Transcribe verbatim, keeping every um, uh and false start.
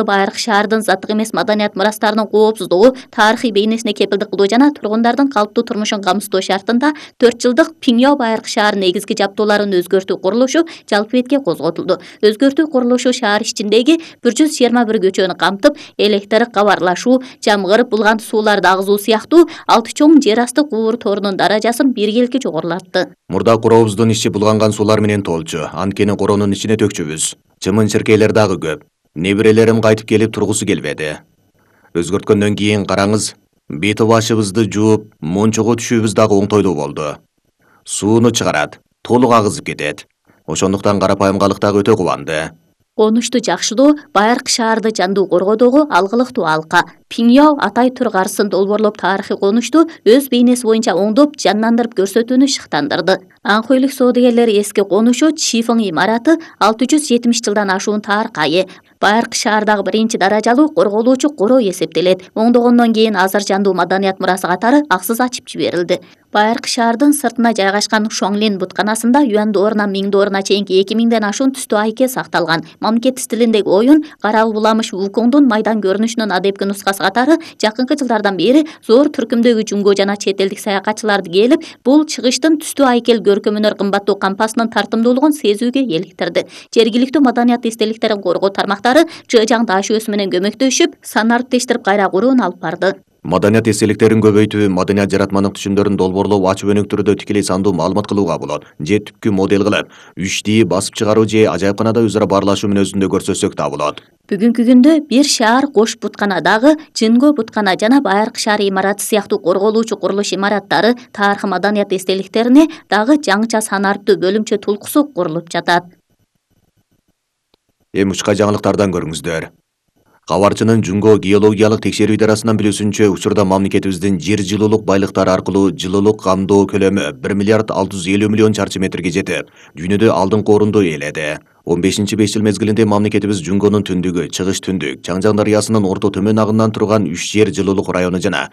Байыркы шаардын заттык эмес маданият мурастарынын коопсуздугу, тарыхый бейнесине кепилдик кылуу жана тургундардын калыптуу турмушун камсыздоо шартында төрт жылдык Пиңяо Байыркы шаарынын негизги жабдууларын өзгөртүү курулушу жалпы бетке козготулду. Өзгөртүү курулушу шаар ичиндеги бир жүз жыйырма бир көчөнү камтып, электр, кабарлашуу, жамгыр, булган сууларды агызуу сыяктуу алты чоң жер асты кубур торунун даражасын биргеликке жогорулатты. Мурда корообуздун ичи булганган суулар менен толчу. Анткени коронун ичине төкчүбүз. Чымын-чиркейлер дагы көп. Неберелерим кайтып келип тургусу келбеди. Өзгөрткөндөн кийин караңыз, бети башыбызды жууп, мончого түшүүбүз дагы оңтойлуу болду. Сууну чыгарат, толук агызып кетет. Ошондуктан карапайым калык дагы өтө кубанды. Конушту жакшылоо Байыркы шаарды жандуу коргоодогу алгылыктуу алка. Пиңяо Атай Тур карысын долбоорлоп тарыхый конушту өз бейнеси боюнча оңдоп, жандандырып көрсөтүүнү шыктандырды. Аңкөйлүк соодагерлери эски конушу Чифың имараты алты жүз жетимиш жылдан ашуун тарыхка ээ. Байыркы шаардагы биринчи даражалуу корголуучу коро эсептелет. Оңдогондон кийин азыр жандуу маданият мурасы катары аксыз ачып жиберилди. Байыркы шаардын сыртына жайгашкан Шуаңлин бутканасында юан доорунан миң дооруна чейинки эки миңден ашуун түстүү айке сакталган. Мамлекет стилиндеги оюн кара уламыш Вукоңдун майдан көрүнүшүнүн адепки нускасы катары жакынкы жылдардан бери зор түркүмдөгү жумго жана чет элдик саякатчыларды келип, бул чыгыштын түстүү айкел көркөмүнөр кымбаттуу кампасынын тартымдуулугун сезүүгө эликтирди. Жергиликтүү маданият эстеликтерин коргоо тармактары Жыжаң таш өсү менен көмөктөшүп, санарды тештирип кайра курууну алып барды. Маданият эстеликтерин көбөйтүү, маданият жаратманын түшүмдөрүн долбоорлоо ачык өнүк түрдө тикелей сандуу маалымат кылууга болот. Же түпкү модель кылып, үч ди басып чыгаруу же ажайыпканада өзара баарлашуу мүнөзүндө көрсөтсөк да болот. Бүгүнкү күндө бир шаар Кош бутканадагы Жынго буткана жана Байыркы шаар имараты сыяктуу корголуучу курулуш имараттары, тарыхый маданият эстеликтерине дагы жаңыча санарттуу бөлүмчө тулкусу курулуп жатат. Эми учка жаңылыктардан көрүңүздөр. Кабарчынын Жунго геологиялык текшерүү идарасынан билүүсүнчө, учурда мамлекетибиздин жер жылуулук байлыктары аркылуу жылуулук камдоо көлөмү бир миллиард алты жүз элүү миллион чарчы метрге жетип, дүйнөдө алдыңкы орунду ээледи. он бешинчи беш жыл мезгилинде мамлекетибиз Жунгонун түндүгү, чыгыш түндүк, Чаңжаң дарыясынын орто төмөн агынан турган үч жер жылуулук району жана